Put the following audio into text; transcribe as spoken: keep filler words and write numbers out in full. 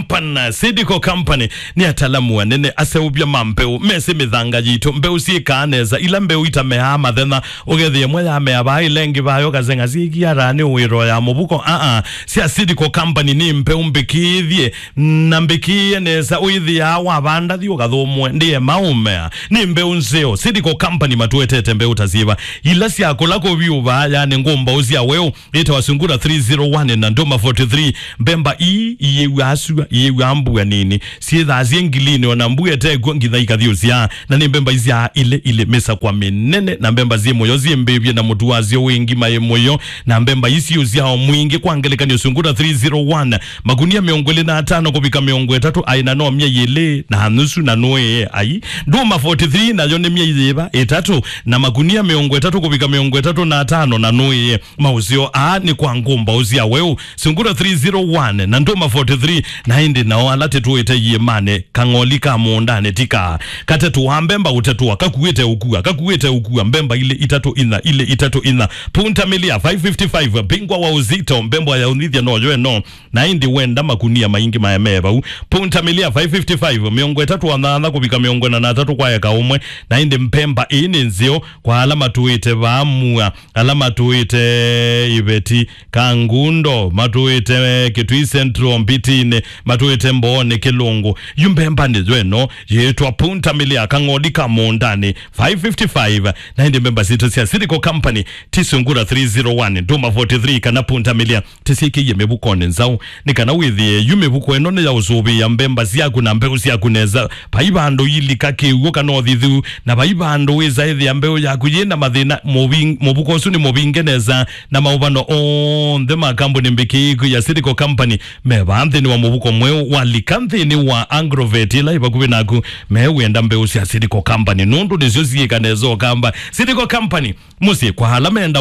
Company, Seedco Company, nĩ atalamu anene, aseũvya ma mbeũ, mesĩ mĩthanga yitũ, mbeũ syĩkaa nesa, ila mbeũ itameaa mathenya, ũkethĩa ĩmwe yamea vaa, ĩla ĩngĩ vaa, ũkaseng'a syĩkiataa nĩ ũĩro ya mũvuko. Aa, sya Seedco Company nĩ mbeũ mbĩkĩĩthye, na mbĩkĩĩe nesa, ũĩthĩaa wavanda thi ũkathũmũe, ndĩe maũmea. Nĩ mbeũ nzeo, Seedco Company matũetete mbeũ ta syĩva, ila sya kũla kũvyũ vaa, yani ngũmbaũ sya weũ, ĩtawa Sungura three zero one na Ndũma forty-three. Mbemba ii iyĩw'aa sua, iyĩw'aa mbua nini, syĩthaa syĩ ngilini, ona mbua ĩtekw'o nginya ikathyũsyaa. Na nĩ mbemba isyaa ilĩ ilĩ, mĩsakwa mĩnene, na mbemba syĩ mũyo syĩ mbĩvye, na mũtu wasyo wĩ ngima yĩ mũyo, na mbemba ii syĩ ũsyao mwingĩ. Kwa ngelekany'o, Sungura three zero one, makunia mĩongo ĩlĩ na atano kũvika mĩongo ĩtatũ, aĩ na no myei ĩlĩ na nusu na nũĩe. Ai, Ndũma forty-three nayo nĩ myei yĩva? Ĩtatũ, na makunia mĩongo ĩtatũ kũvika mĩongo ĩtatũ na atano na nũĩe. Maũseo aa nĩ kwa ngũmbaũ sya weũ, Sungura three zero one na Ndũma forty-three, na ĩndĩ nao ala tĩtũĩte iĩmanĩ, kang'oli ka mũũndanĩ ti kaa. Katetũaa mbemba ũtetũa, kakuĩte ũkua, kakuĩte ũkua, mbemba ilĩ itatũ inya, ilĩ itatũ inya. Punta Milia five fifty-five, bingwa wa uzito, mbemba ya ũnyithya noyo ĩno, na ĩndĩ wenda makunia maingĩ maemee vau. Punta Milia five fifty-five, mĩongo ĩtatũ na nyanya kũvika mĩongo ĩna na atatũ kwa eka ũmwe, na ĩndĩ mbemba ĩĩ nĩ nzeo kwa ala matũĩte vaa mua, ala matũĩte Iveti, Kangundo, matũĩte Kitui Central, Mbitinĩ, matũĩte Mbooni, Kĩlũngũ. Yu mbemba nĩ yo ĩno yĩtwa Punta Milia, kang'oli ka mũũndanĩ, five fifty-five. Na ĩndĩ mbemba sitũ sya Seedco Company ti Sungura three zero one, Ndũma forty-three, kana Punta Milia, tĩsyĩkĩie mĩvukonĩ nzaũ, nĩ kana wĩthĩe yu mĩvuko ĩno nĩ ya ũsũvĩĩa mbemba syaku na mbeũ syaku nesa. Vai vandũ ilika kĩw'ũ kana ũthithu, na vai vandũ wĩsa ĩthĩa mbeũ yaku yĩ na mathĩna. Mũving-, mũvuko ũsu nĩ mũvinge nesa, na maũvano onthe ma kambuni mbĩkĩĩku ya Seedco Company me vaa nthĩnĩ wa mũvuko mweũ. Walika nthĩnĩ wa Agrovet ĩla ĩ vakuvĩ naku, mewenda mbeũ sya Seedco Company, nũndũ nĩsyo syĩka nesa ũkamba. Seedco Company, mũsyĩ kwa ala menda